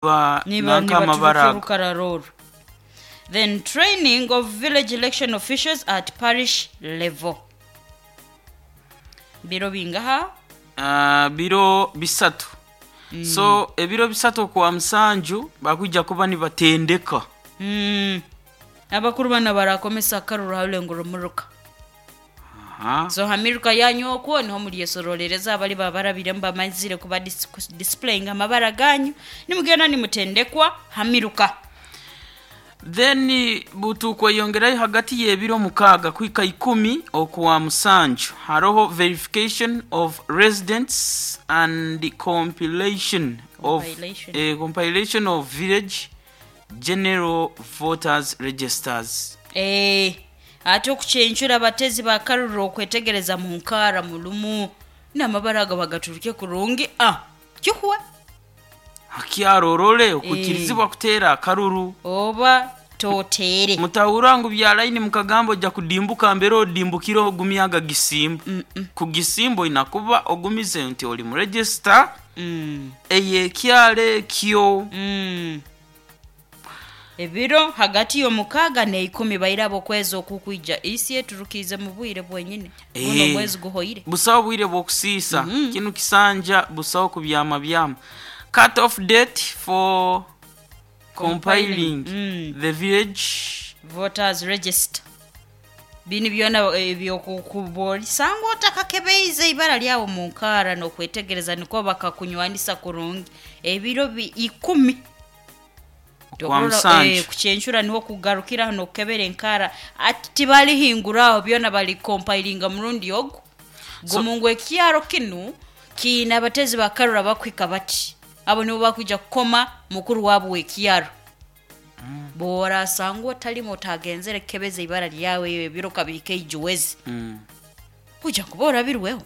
Ba Niba nanka amabara nibaturukya ago. orukarara oru. Then training of village election officials at parish level. Biro bingaha? Ah, biro bisatu. So ebiro bisatu okwa musanju bakwija kuba nibatendeka. Abakuru bana barakomesa akaruru harulengo rumuruka. Aha. So hamiruka yanyu okwo niho muryesororereza abali babarabiremu bamazire kuba displaying amabara ganyu nimugenda nimutendekwa hamiruka. Then butukweyongerayo hagati y'ebiro mukaaga kuhika ikumi okwa musanju haroho verification of residents and compilation of, Compilation. compilation of village general voters registers. Ate okucencura abatezi bakarura okwetegereza mu nkaara mulumu n'amabara ago bagaturuke kurungi kihwa Hakyarorole okukirizibwa kuteera akaruru. Oba toteere. Mutahura ngu bya line mukagamba ojja kudimbuka mbere odimbukire ogumyaga gisimba. Ku gisimba oina kuba ogumize nti oli mu register ey'ekyalo ekyo. Ebiro hagati y'omukaaga n'eikumi bairaba okwezi okukwija isi eturukiize mu bwire bwenyine. Guno omwezi guhoire. Busaho bwire bw'okusiisa. Kinu kisanja busaho kubyama byama. Cut off date for compiling the village Voters register. Bini byona ebyokubolisanga otakakebeize ibara lyawe mu nkaara n'okwetegereza nikwo bakakunywanisa kurungi. Ebiro ikumi. Okwa musanju. Kucencura niho kugarukira hano okukebera enkaara ati tibalihinguraho byona bali compilinga murundi ogu. Gumu ngu ekyaro kinu kiine abatezi bakarura bakuhika bati abo nibo bakwija kukoma mukuru waabo w'ekyaro. Bw'orasangwa otarimu otagenzere kukebeza ibara lyawe ebiro kabihika eijuwezi. Kuja kuba orabirweho.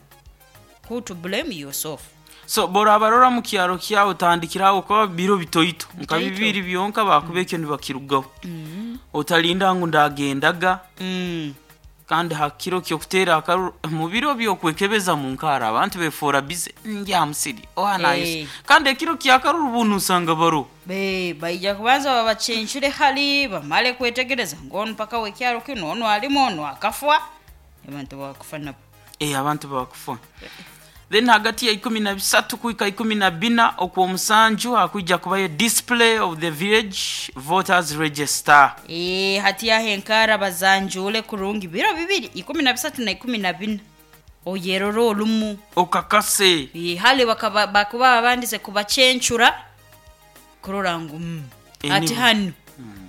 Who to blame yourself. So borabarora mu kyaro kyawe otandikiraho kuba biro bitoito nka Bitoito. bibiri byonka bakuba ekyo nibakirugaho. Otalinda ngu ndagendaga. Kandi ha kiro ky'okuteera akaruru mu biro by'okwekebeza mu nkaara abantu befoora busy ndya musiri oha nayesa. Kandi ekiro ky'akaruru bunu osanga baroho. Baija kubanza babacencure hali bamale kwetegereza ngu onu mpaka w'ekyaro kinu onu alimu onu akafwa abantu bakufa nabo. Abantu bakufa. Then hagati ya 13 kuhika 14 okw'omusanju hakwija kubayo display of the village voters register. Hati aho enkaara bazanjuure kurungi biro bibiri 13 na 14 oyerore orumu. Okakase. Hali bakuba babandize kubacencura kurora ngu ati hanu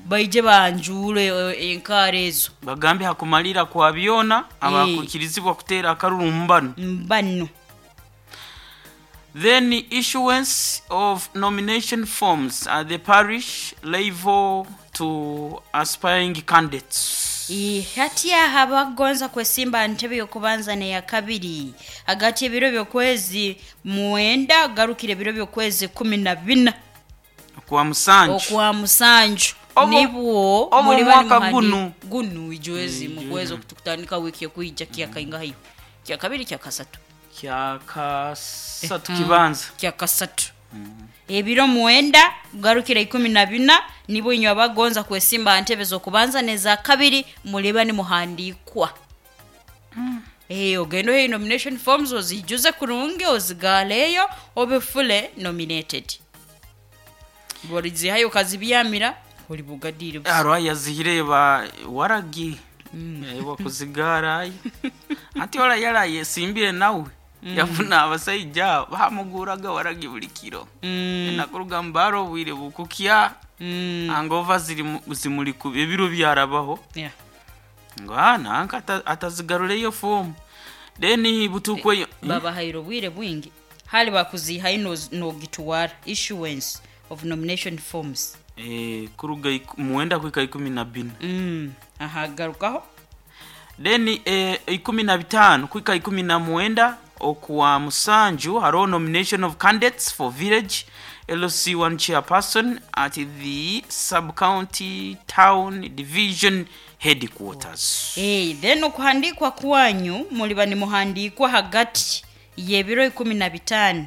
baije banjuure enkaara ezo. Bagambe hakumalira kwa byona abakukirizibwa kuteera akaruru mbanu. Mbanu. Then issuance of nomination forms at the parish level to aspiring candidates. Hati aha abakugonza kwesimba aha ntebe y'okubanza n'eya kabiri hagati y'ebiro by'okwezi 9 garukira ebiro by'okwezi 14. Okwa musanju. Okwa musanju. Obo Nibwo obo muri omwaka bani gunu. Gunu ijwezi mu kwezi okutukutandika wiki ekwija kyakaingahayo. Kya kabiri kya kasatu. Kya kasatu kibanza. Kya kasatu. Ebiro 9 garukira 14 nibwo inywe abagonza kwesimba aha ntebe z'okubanza n'eza kabiri muriba nimuhandiikwa. Ogende ohe nomination forms ozijuze kurungi ozigaaleyo obe fully nominated. Bworizihayo okazibyamira ori bugadiire busa. Hariho ayazihire ba waragi. Bakuzigaarayo. Ati ora yarayesimbire nawe. Yafuna abasaija bamuguraga waragi buli kiro. Nakuruga mbaro obwire bukukya. Angova zimuri ku ebiro byarabaho. Ngu nanka atazigarureyo fomu. Then butukweyo. Babahaire obwire bwingi. Hali bakuzihayo nogitwara issuance of nomination forms. Kuruga 9 kuhika 14. Ahagarukaho. Then 15 kuhika 19 okwa musanju hariho nomination of candidates for village LC1 chairperson at the sub-county town division headquarters. Then okuhandikwa kwanyu muliba nimuhandikwa hagati y'ebiro 15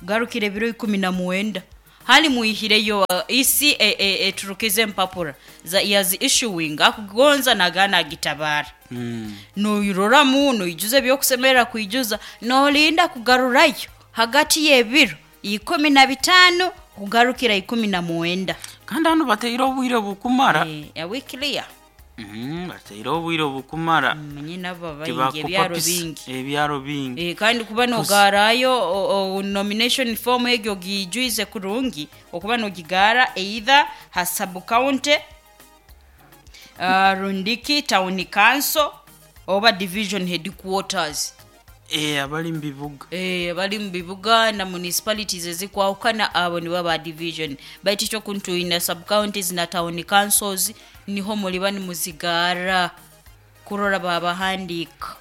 garukira ebiro 19. Hali mwihireyo EC eturukize empapura yazi issuing akugonza nagana agitabara. Noiroramu noijuza ebyokusemerera kwijuza nolinda kugarurayo hagati y'ebiro 15 kugarukira 19. Kandi hanu bateire obwire bukumara. Eh, we clear. Bateire obwire bukumara. Manye nabo baingi ebyaro bingi. Ebyaro bingi. Kandi kuba nogarayo nomination form egyo gijwize kurungi okuba nogigara either ha sub county, rundiki town council oba division headquarters. Abali mu bibuga. Abali mu bibuga na municipalities ezikwahukana abo nibo ba division, baitu ekyo kuntuina sub counties na town councils niho muliba nimuzigara kurora babahandiika.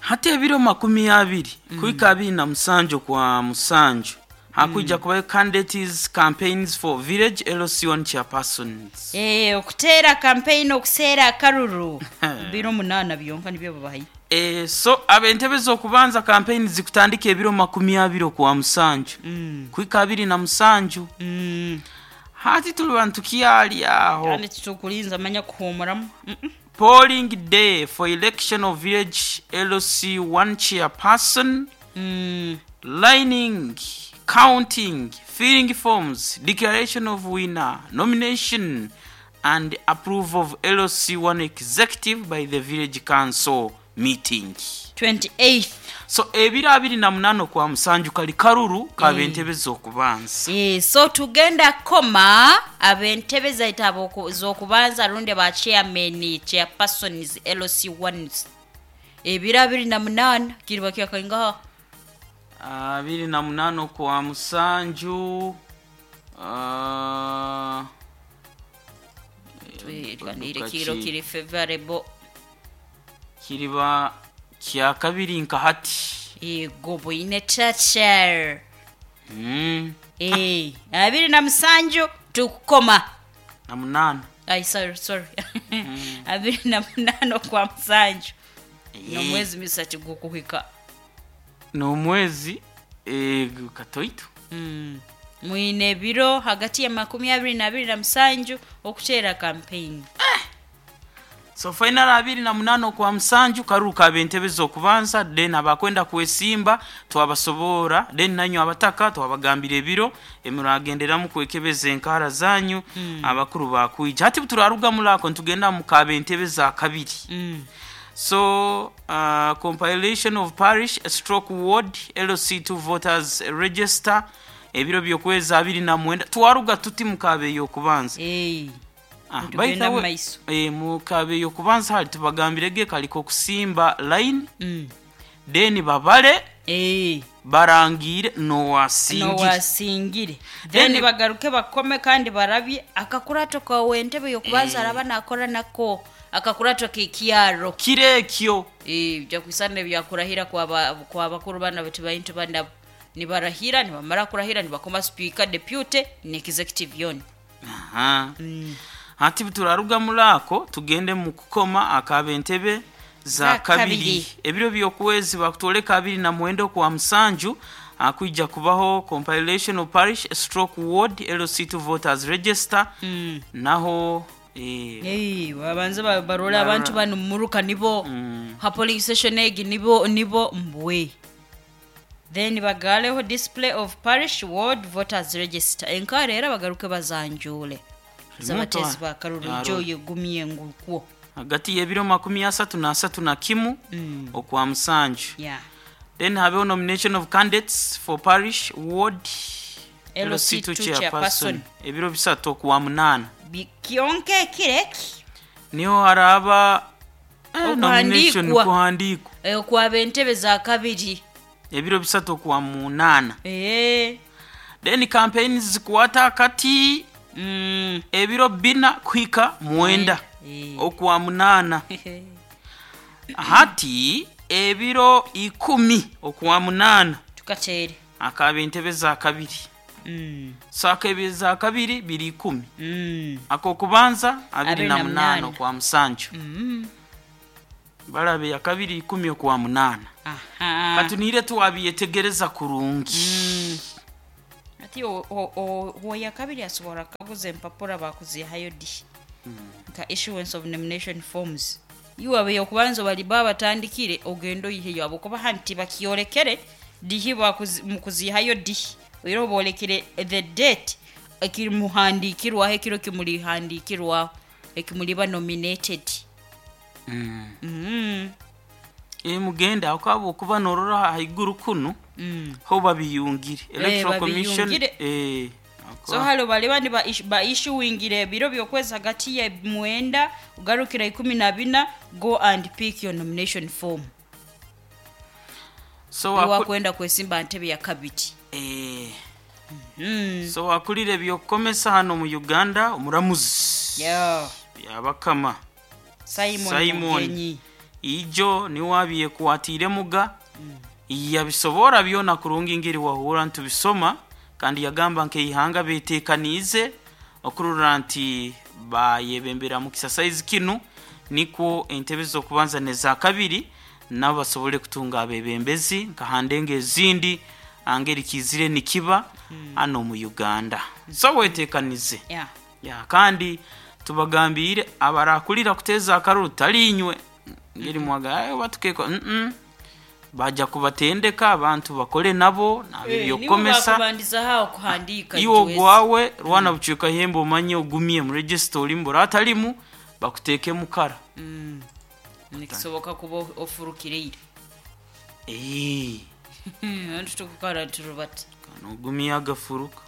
Hati ebiro 20 kuhika 27 kwa musanju hakwija kubayo candidates campaigns for village LC1 chairpersons. Okuteera campaign okuseera akaruru biro 8 byonka nibyo babahaye. So ab'entebe z'okubanza campaign zikutandika ebiro 20 kwa musanju kuhika 27. Hati tuli bantu kyali aho. Kandi titukulinza manya kuhumuramu. Polling day for election of village LC1 chairperson. Lining, counting, filling forms, declaration of winner, nomination and approval of LC1 executive by the village council meeting. 28th. So ebiro 28 kwa musanju kali karuru kabentebe z'okubanza. So tugenda koma abentebe zaita z'okubanza rundi ba chairman, chairpersons, LC1s. Ebiro 28 kiriba kyakaingaha. 28 kwa musanju, Kiro kiri favorable. Kiriba kya kabiri nka hati. Yego bwine chacha. 27 tukukoma. Na 8. Ai, sorry. 28 kwa musanju. No mwezi misatu gukuhika. No mwezi katoito. Mwine biro hagati ya 22 na musanju okuteera campaign. So final 28 kwa musanju karuka abentebe z'okubanza, then abakwenda kwesimba twabasobora, then nanyu abataka twabagambira ebiro emuragenderamu kwekebeza enkara zanyu. Abakuru bakwija. Hati turaruga mulako ntugenda mu kabentebe za kabiri. So compilation of parish stroke ward LC2 voters register ebiro byokwezi 29 twaruga tuti mukabe yokubanza. Tugenda mu maiso. Mukabe yokubanza hali tubagambirege kaliko kusimba line. Then babale barangire nowasingire. Then bagaruke bakome kandi barabye akakurato kawe entebe yokubanza araba nakora nako akakurato kikiaro kirekyo. Bya kwisana byakurahira kwa bakuru bana bati bayintu bana nibarahira nibamara kurahira nibakoma speaker, deputy ne executive yon. Hati turaruga mulako tugende mu kukoma akabentebe za kabiri. Ebiro byokwezi bakutoleka 29 kwa musanju akuija kubaho compilation of parish stroke ward LC2 voters register. Naho babanze barola abantu bano muruka nibo ha polling station egi nibo mbwe. Then bagaleho display of parish ward voters register. Enkare era bagaruke bazanjule zabatezi bakaruru joye gumye ngukwo hagati y'ebiro 31 okwa musanju. Then habeho nomination of candidates for parish ward LC2 chairperson ebiro 3 okwa 8. Bikionke kireki niho haraba nomination kuhandikwa kwa bentebe za kabiri ebiro 3 okwa 8. Then campaigns zikwata kati ebiro 4 kuhika 9 okwa 8. Hati ebiro 10 okwa 8 tukatere akaba entebe za kabiri. So akebe za kabiri biri 10. Akokubanza 28 okwa musanju. Barabe ya kabiri 10 okwa 8. Katunire tuwabiyetegereza kurungi. Hati ow'eyakabiri asobora kukaguza empapura bakuzihayo di nka issuance of nomination forms. Iwe ab'eyokubanza baliba batandikire ogende oiheyo habwokuba hanu tibakyorekere dihi mukuzihayo dihi. Oihireho boolekere the date ekimuhandiikirwaho ekiro ekimulihandiikirwaho ekimuliba nominated. Mugende aho habwokuba norora haiguru kunu ho babiyungire Electoral Commission. Babiyungire. So hali baliba niba ba issuingire ebiro by'okwezi hagati ya 9 kugarukira 14, go and pick your nomination form. So Wakwenda kwesimba ntebe ya kabiri. So akulira ebyokukomesa hano mu Uganda omuramuzi Byabakama Simon, Simon. Mugenyi. Ijo niwe abyekwatiire muga yabisobora byona kurungi ngeri wahura ntubisoma, kandi yagamba nk'eihanga betekaniize okurora nti bayebembera mu kisasaizi kinu, nikwo entebe z'okubanza n'eza kabiri nabo basobole kutunga abebembezi nka handenga ezindi angeri kizire nikiba hano mu Uganda. So wetekanize. Ya, kandi tubagambiire abarakulira kuteeza akaruru talinywe ngeri mwaga batukeko baja kubatendeka abantu bakole nabo nabyokomesa. Bakubandiza hao kuhandika. Iwe ogwawe rwana bucweka hembe omanye ogumye mu register olimu atalimu bakuteeke mukara. Nikisoboka kuba ofurukireire. Antu tukukara turubata. Ogumye agafuruka.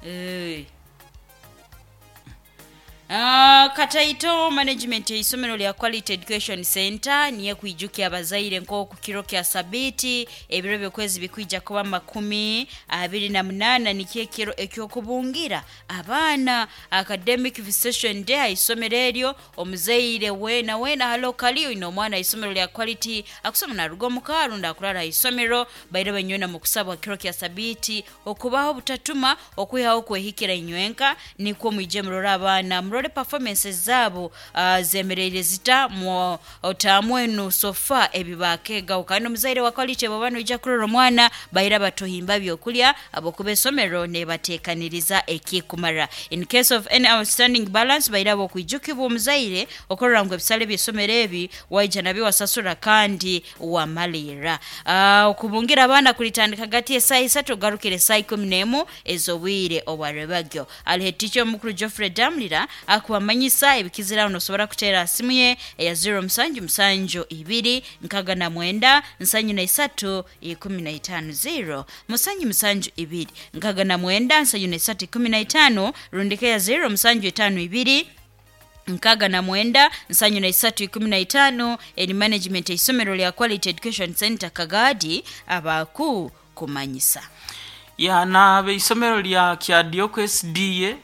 Kataito management y'isomero lya Quality Education Center niye kwijukia abazaire nk'oku kiro kya sabiti ebiro by'okwezi bikwija kuba 28 nikyo ekiro eky'okubungira abaana academic visitation day aha isomero eryo. Omuzaire weena weena halo kali oine omwana aha isomero lya Quality akusoma naruga omu ka rundi akurara aha isomero, baire banywena mu kusabwa kiro kya sabiti okubaho obutatuma okwihaho okwehikira inywenka, nikwo mwije murore abaana, murore performances zaabo zemereire zita mu otamwenu sofa ebibakegaho. Kandi omuzaire wa Quality bw'oba noija kurora omwana baira batuhimba byokulya abokuba esomero nebateekaniriza ekikumara. In case of any outstanding balance baira bokwijukibwa omuzaire okurora ngu ebisale by'esomero ebi waija nabyo wasasura kandi wamalira. Okubungira abaana kulitandika hagati y'esaaha 3 ogarukire esaaha 11 ez'obwire obwarebagyo. Alihe ticha omukuru Geoffrey Damlira akubamanyisa ebikiziraho nosobora kuteera simu ye eya 0 7 7 2 69 73 15 0 7 7 2 69 73 15 rundika ya 0 7 5 2 69 73 15 eri management y'isomero lya Quality Education Center Kagadi abaku kumanyisa. Ya na abeisomero lya Kyadioko SDA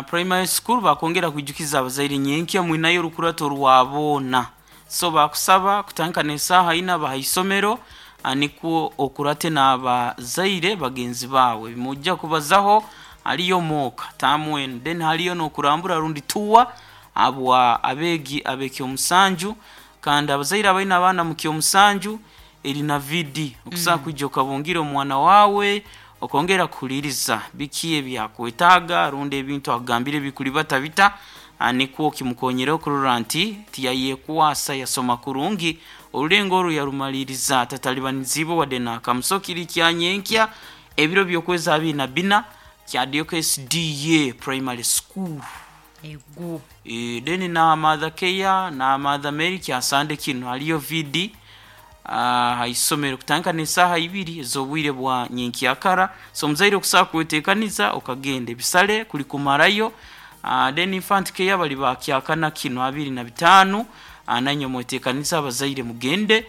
primary school bakongera kwijukiza abazaire nyenkya mwinayo orukurato rwaboona. So bakusaba kutandika n'esaaha ina baha isomero nikwo okurate n'abazaire bagenzi bawe mujja kubazaho haliyo mooka tamwenu then haliyo n'okurambura rundi tuwa abwa abeegi ab'ekyomusanju, kandi abazaire abaine abaana mu kyomusanju eri na VD okusobola kwija okabungira omwana wawe okongera kuhuliriza biki ebyakwetaaga rundi ebintu akugambire bikulibata bita, nikwo kimukonyere okurora nti tiyayekwasa yasoma kurungi orulengo oru yarumaliriza tatalibaniziibwe wadde n'akamu. So kiri kyanyenkya ebiro by'okwezi 24 Kyadioko SDA primary school. Egu. Then na Mother Care na Mother Mary kyasande kinu haliyo VD aha isomero kutandika n'esaaha 2 ez'obwire bwa nyenkyakara. So omuzaire okusobola kweteekaniza okagenda ebisale kuli kumarayo. Then infant care bali bakyakana kinu 25, nanywe mweteekanize abazaire mugende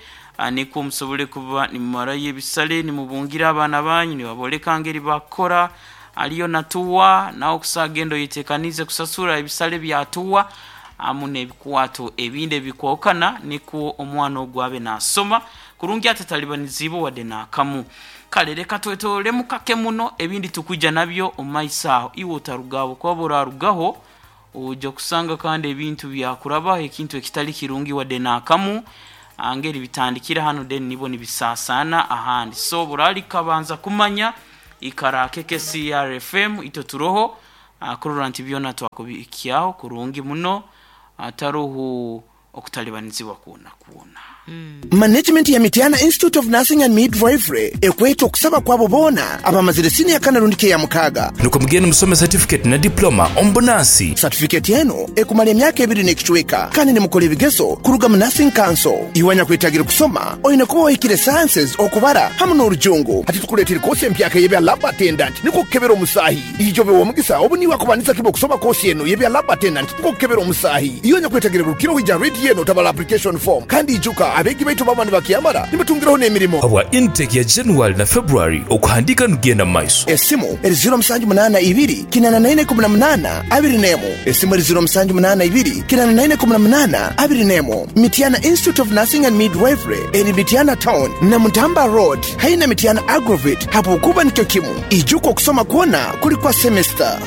nikwo musobole kuba nimumarayo ebisale nimubungira abaana banyu nibaboleka ngeri bakukora. Aliyo na tuwa nawe okusagenda oyetekanize kusasura ebisale bya tuwa amu n'ebikwato ebindi ebikwokana nikwo omwana ogwo abe nasoma kurungi atatalibanizibwe wadde n'akamu. Kale reka twetolemu kake muno ebindi tukwija nabyo omu maiso aho, iwe otarugaho kuba orarugaho ojja kusanga kandi ebintu byakurabaho ekintu ekitali kirungi wadde n'akamu angeri bitandikira hano then nibo nibisasana ahandi. So burali kabanza kumanya Ikara KKCR FM itwe turoho kurora nti byona twakubihikyaho kurungi muno ataroho okutalibanizibwa kwona kwona. Management ya Mityana Institute of Nursing and Midwifery ekweta okusaba kwabo boona abamazire siniya kana rundi k'eyamukaaga. Nukwo mugende musome satifiketi na diploma omu bunansi. Satifiketi eno ekumara emyaka ebiri n'ekicweka kandi nimukora ebigezo kuruga mu Nursing Council. Iwe anyakwetagire kusoma oine kuba wahikire Sciences, Okubara hamu n'Orujungu. Hati tukuleetera koosi empyaka ey'ebya Lab Attendant nikwo kukebera omusaahi. Ijo obe w'omugisa obu niiwe akubandiza kiba okusoma koosi enu ey'ebya Lab Attendant nikwo kukebera omusaahi. Iwe anyakwetagire rukira oija rediyo eno otabara application form. Kandi ijuka abeegi baitu baba nibakyamara nibatungiraho n'emirimo. Habwa intake ya January na February okuhandiika nikugenda mu maiso. Esimu eri 0782 84 18 21. Esimu eri 0782 84 18 21. Mityana Institute of Nursing and Midwifery eri Mityana Town, Namutamba Road haihi na Mityana Agrovet habwokuba nikyo kimu. Ijuka okusoma kwona kuri kwa semester.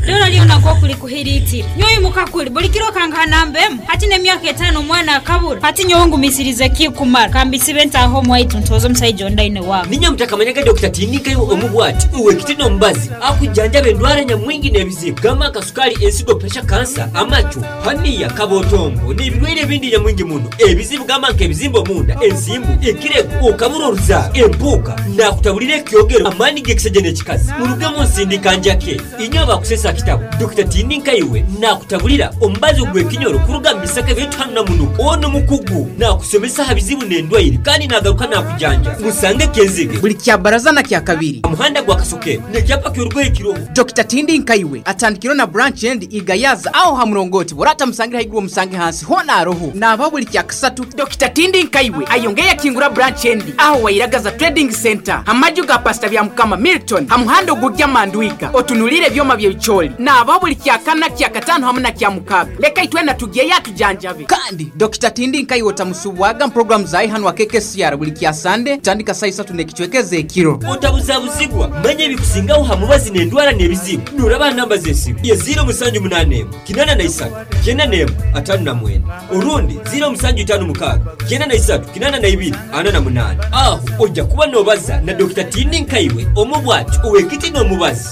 Dora lyona nk'oku likuhiriitire. Nyowe imuka kuri, buri kiro okangaha namba emwe. Hati n'emyaka etaano omwana akabura. Hati nyowe ngumisirize ki kumara? Ka mbisibe ntaahe omu waitu ntooze omusaija ondi aine waabo. Niinye mutakamanyaga Dokita Tiinikayo omu bwati, ow'ekiti n'omubazi, akujjanjaba endwara nyamwingi n'ebizibu gamba nka sukaali, ensigo, puresha, kansa, amacu, haniya, kabotongo n'ebirwaire ebindi nyamwingi muno. Ebizibu gamba nk'ebizimba omunda, ensimbu, ekirego, okabura oruzaaro, empuuka, naakutaburira ekyogero, amaani g'ekisaija n'ekikazi. Murugemu nsindika njake. Inywe abakusesa kitabo, Dokita Tiininkaiwe naakutaburira omubazi ogw'ekinyoro kuruga mu bisaka byaitu hanu Namunuka. Onu mukugu, naakusomesa aha bizibu n'endwaire kandi naagaruka naakujanja. Musange Kenzige. Buli Kyabaraza na Kyakabiri. Aha muhanda gwa Kasokero n'ekyapa ky'orugoye kiroho. Dokita Tindinkaiwe atandikireho na branch endi i Gayaza aho ha murongoti bw'oraba otamusangire haiguru omusange hansi hoona aroho. Naabaho buli Kyakasatu. Dokita Tindinkaiwe ayongeire yakingura branch endi aho Wairagaza Trading Centre ha maju ga Pastor Byamukama Milton ha muhanda ogugya Mandwiga otunuliire ebyoma by'ebicoori. Naabaho buli Kyakana, Kyakataano hamu na Kyamukaaga. Leka itwena tugyeyo atujanjabe. Kandi Dokita Tindinkaiwe otamusubwaga mu puroguramu zaaye hanu aha KKCR buli Kyasande kutandika saaha isatu n'ekicweka ez'ekiro. Otabuzabuzibwa, manya ebikusingaho ha mubazi n'endwara n'ebizibu noraba aha namba z'esimu ye 0781 83 91 59 orundi 0756 93 82 48. Aho oija kuba nobaza na Dokita Tiini Nkaiwe omu bwati ow'ekiti n'omubazi.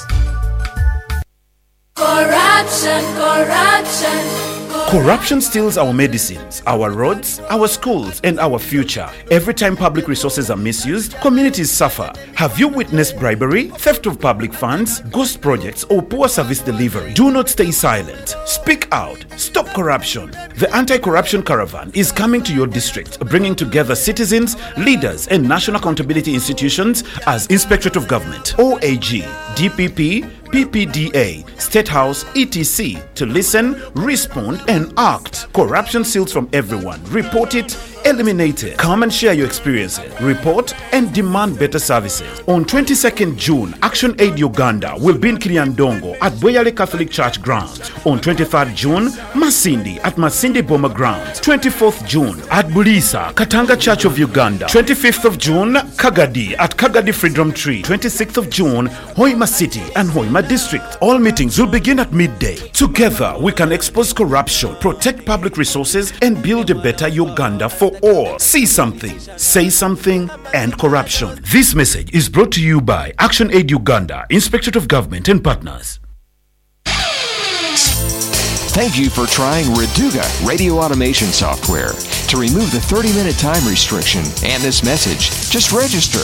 Corruption, corruption. Corruption steals our medicines, our roads, our schools, and our future. Every time public resources are misused, communities suffer. Have you witnessed bribery, theft of public funds, ghost projects, or poor service delivery? Do not stay silent. Speak out. Stop corruption. The Anti Corruption Caravan is coming to your district, bringing together citizens, leaders, and national accountability institutions as Inspectorate of Government, OAG, DPP, PPDA, State House, etc. to listen, respond, and act. Corruption seals from everyone. Report it, eliminate it. Come and share your experiences. Report and demand better services. On 22nd June, Action Aid Uganda will be in Kiriandongo at Boyale Catholic Church grounds. On 23rd June, Masindi at Masindi Boma grounds. 24th June at Bulisa, Katanga Church of Uganda. 25th of June, Kagadi at Kagadi Freedom Tree. 26th of June, Hoima City and Hoima District. All meetings will begin at midday. Together, we can expose corruption, protect public resources, and build a better Uganda for all. See something, say something, and corruption. This message is brought to you by Action Aid Uganda, Inspectorate of Government and Partners. Thank you for trying Raduga Radio Automation Software. To remove the 30 minute time restriction and this message, just register.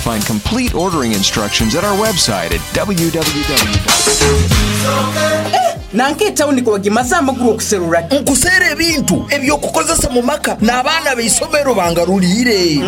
Find complete ordering instructions at our website at www. Nanka etawuni ku wagimaze amaguru okuserura ki? Nkuseera ebintu eby'okukozesa mu maka n'abaana b'eisomero bangaruliire.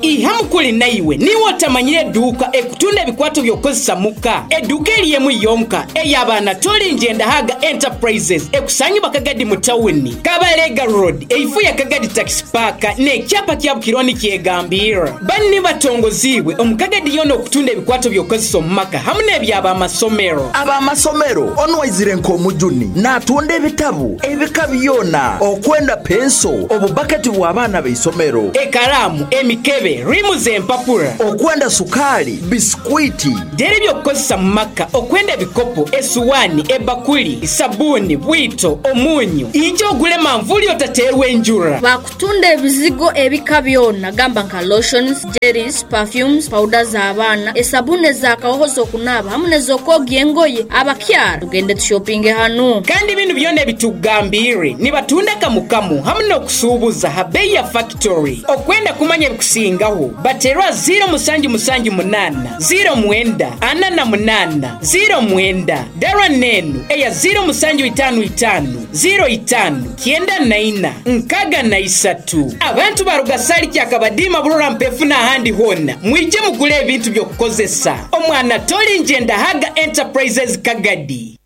Ihamu kuli naiwe niiwe otamanyire edduuka ekutunda ebikwato by'okukozesa muka. Edduuka eri emu yonka ey'abaana toli Njendahaga Enterprises ekusangibwa Kagadi mu tawuni Kabalega Road eifu ya Kagadi Taxi Park n'ekyapa kya Bukironi kyegambirra. Banni batongoziibwe omu Kagadi yoona okutunda ebikwato by'okukozesa omu maka hamu n'eby'abamasomero. Ab'amasomero onu waizire nk'omujuni n'atunda ebitabu ebika byona okwenda penso obubaketi bw'abaana b'eisomero. Ekaraamu, emikebe, riimu ze. Okuguza empapura. Okwenda sukaali, bisikwiti. Dheera eby'okukozesa mu maka, okwenda ebikopo, esuwaani, ebakuli, sabuuni, bwito, omunyu. Ija ogule manvuuli otateerwa enjura. Bakutunda ebizigo ebika byona gamba nka lotions, jellies, perfumes, powder z'abaana, esabuni ez'akahoho z'okunaaba hamu n'ez'okwogya engoye. Abakyara tugende tushopinge hanu. Kandi binu byona ebitukugambiire nibatunda kamu kamu hamu n'okusuubuza ha beeyi ya fakitori. Okwenda kumanya ebikusingaho, bateerwa 0778 09 48 09 Darwa n'enu eya 0755 05 94 63. Abantu baruga Sali, Kyakabadiima, Burora, Mpefu n'ahandi hoona, mwije mugule ebintu by'okukozesa. Omwana toli Njendahaga Enterprises Kagadi.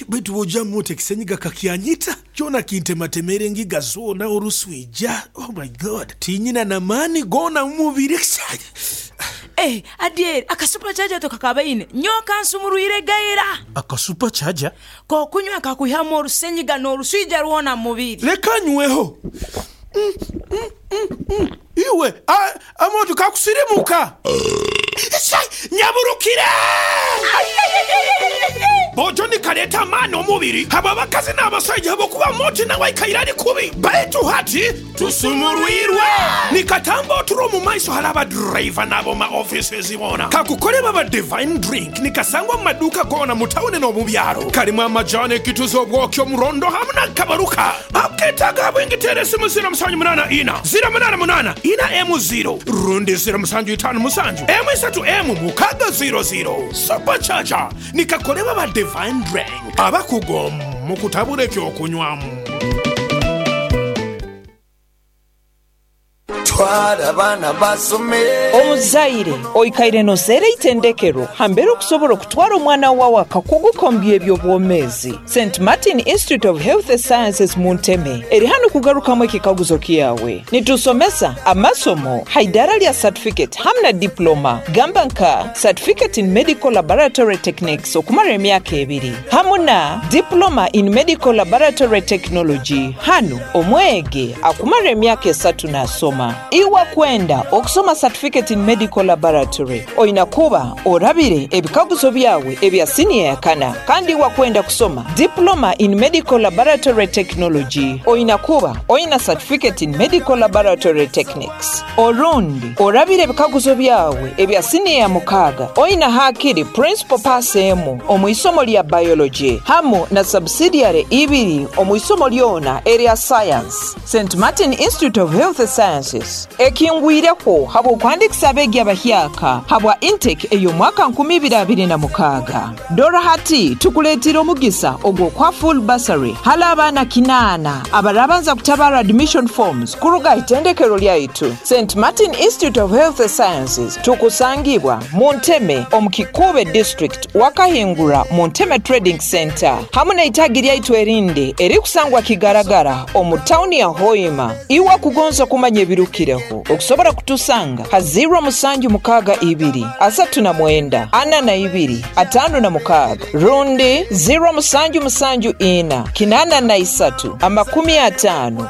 Baitu bw'ojamu oti ekisenyiga kakyanyita, kyona kintematemera engiga zoona oruswija. Oh my God! Tinyina na maani goona mu mubiri. Eh, Adyeri, aka super charger tokakabaine? Nyowe kansumurwire gaira. Aka super charger? K'okunywa kakwihamu orusenyiga n'oruswija rwona mu mubiri. Leka nyweho. Iwe, amooto kakusirimuka. Nyaburukire! Bojo nikaleeta amaani omubiri habw'abakazi n'abasaija habw'okuba Moti nawe aikaire ali kubi baitu hati tusumurwirwe. Nikatamba oturo omu maiso hali aba driver n'ab'omu ma offices boona. Kakukolebwa aba Divine Drink nikasangwa mu maduuka goona mu tawuni n'omu byaro. Karimu amajaani, ekituzi, obwoki, omurondo hamu na kabaruka. Aketaaga habwingi teera esimu 078 088 4M0 rundi 0757 M3M 600. Super Charger nikakolebwa aba Divine Drink abakugu mu kutabula eky'okunywa. Twara abaana basome. Omuzaire oikaire noseera eitendekero hambere okusobola okutwara omwana wawe akakuguka omu by'eby'obwomeezi. Saint Martin Institute of Health Sciences mu Nteme eri hanu kugarukamu ekikaguzo kyawe. Nitusomesa amasomo ha idaara lya Certificate hamu na Diploma gamba nka Certificate in Medical Laboratory Techniques okumara emyaka ebiri hamu na Diploma in Medical Laboratory Technology hanu omwegi akumara emyaka esatu nasoma. Iwe akwenda okusoma Certificate in Medical Laboratory oina kuba orabire ebikaguzo byawe ebya siniya ya kana. Kandi iwe akwenda kusoma Diploma in Medical Laboratory Technology oina kuba oina Certificate in Medical Laboratory Techniques. Orundi orabire ebikaguzo byawe ebya siniya ya mukaaga oina hakiri Principal Pass emu omu isomo lya Biology hamu na Subsidiary ibiri omu isomo lyona erya Science. Saint Martin Institute of Health Sciences ekingwireho habw'okuhandikisa abeegi abahyaka habwa intake ey'omwaka 2026. Dora hati tukuleetiire omugisa ogw'okuha full bursary hali abaana kinaana abarabanza kutabaara admission forms kuruga aha itendekero lyaitu Saint Martin Institute of Health Sciences. Tukusangibwa mu Nteme omu Kikuube District wakahingura mu Nteme Trading Centre hamu n'eitaagi lyaitu erindi erikusangwa Kigaragara omu tawuni ya Hoima. Iwe akugonza kumanya ebirukireho, okusobora kutusanga ha 0762 39 42 56 rundi 0774 83 50 44.